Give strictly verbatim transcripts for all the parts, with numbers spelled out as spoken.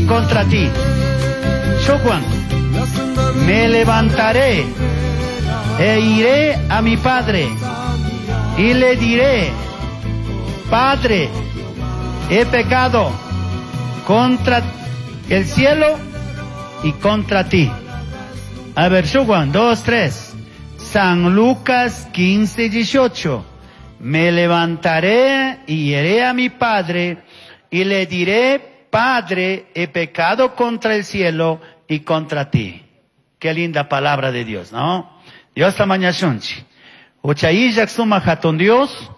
contra ti. Shuj, me levantaré e iré a mi padre y le diré, Padre, he pecado contra el cielo y contra ti. A ver, Shujuan, dos, tres. San Lucas quince, dieciocho. Me levantaré y iré a mi padre y le diré, Padre, he pecado contra el cielo y contra ti. Qué linda palabra de Dios, ¿no? Dios tamañashunchi. Hucha suma hatun Dios,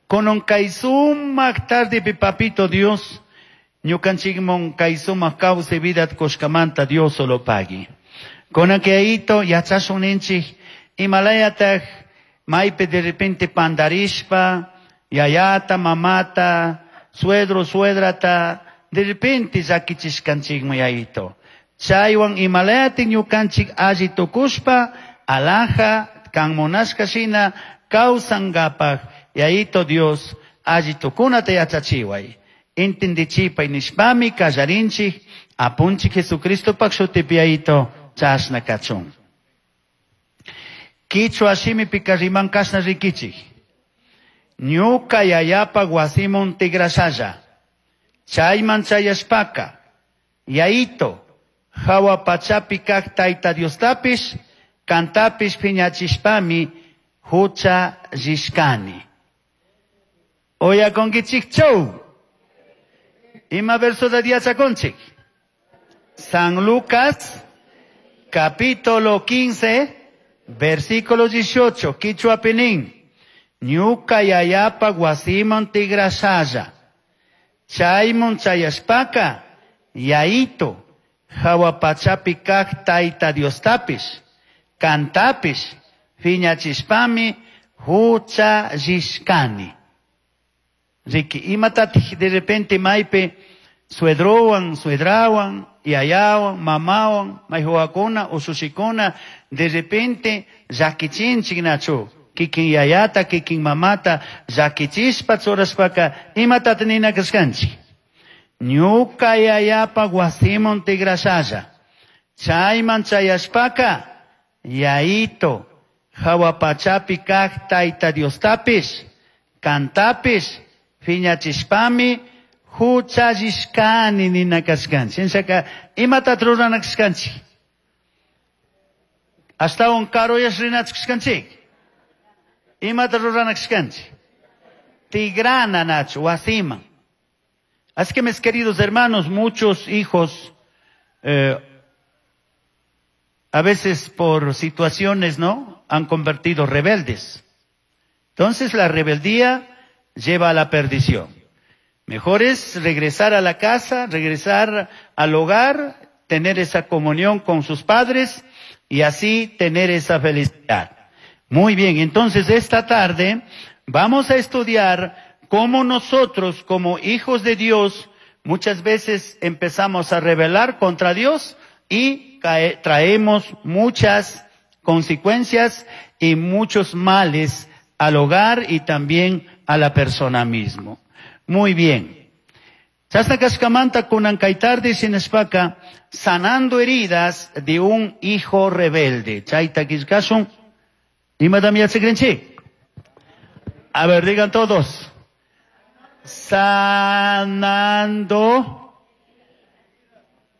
kunan kay sumak tarde papito Dios, ñukanchikman kay sumak kawsay vida kushkamanta Dios solo pagui. Kunan kayito yachashun ninchik, imalayataj maypi de repente pandarishpa, yayata, mamata, suegro, suegrata, de repente llakichishkanchikman yayito. Chaywan imalayatik ñukanchik alli tukushpa, alaja, kan munashka shina, kawsankapaj, yayito Dios, alli tukunata yachachiway. Entendichipay nishpami kallarinchik, apunchik Jesucristo pak shutipi yayito, chashna kachun. Kichwa shimipika riman kashna rikichik. Ñuka yayapa wasimun tigrashalla. Chayman chayashpaka. Yayito, jahua pachapi kak tayta Diostapish, kantapish piñachishpami, hucha rishkani. Oyakonkichik chow. Ima verso de yachakunchik. San Lucas, capítulo quince, versículo dieciocho, Kichwapi nin. Ñuka yayapa wasiman tigrashalla. Chayman chayashpaka, yayito, jahua pachapi kak tayta Diostapish, kantapish, piñachishpami, hucha rishkani. Riki, imatatik de repente maypi suedrowan, suedrawan, yayawan, mamawan, mayhuakuna, usushikuna, de repente llakichinchik nachu. Kikin yayata, kikin mamata, llakichishpa churashpaka, imatata nina kashkanchik. Ñuka yayapa wasiman tigrashalla. Chayman chayashpaka, yayito, jahua pachapi kak tayta Diostapish, kantapish, piñachishpami, huchallishkani nina kashkanchik. Shinashaka, imatata rurana kashkanchik? Ashtawan karuyash rinachu kashkanchik. Imata rurana kashkanchik? Tigrana nachu, wasiman. Así que mis queridos hermanos, muchos hijos, eh, a veces por situaciones, ¿no?, han convertido rebeldes. Entonces la rebeldía lleva a la perdición. Mejor es regresar a la casa, regresar al hogar, tener esa comunión con sus padres y así tener esa felicidad. Muy bien, entonces esta tarde vamos a estudiar cómo nosotros, como hijos de Dios, muchas veces empezamos a rebelar contra Dios y cae, traemos muchas consecuencias y muchos males al hogar y también a la persona mismo. Muy bien. Chasna kashkamanta kunan kay tarde shinashpaka, sanando heridas de un hijo rebelde. Chayta killkashun. Imatam yachakrinchik? A ver, digan todos. Sanando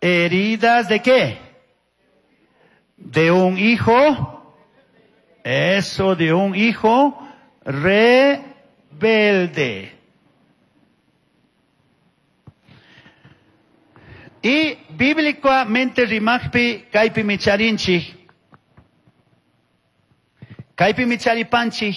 heridas de qué? De un hijo. Eso, de un hijo rebelde. Y bíblicamente rimajpi kaypi micharinchik. Kaypi micharipanchik.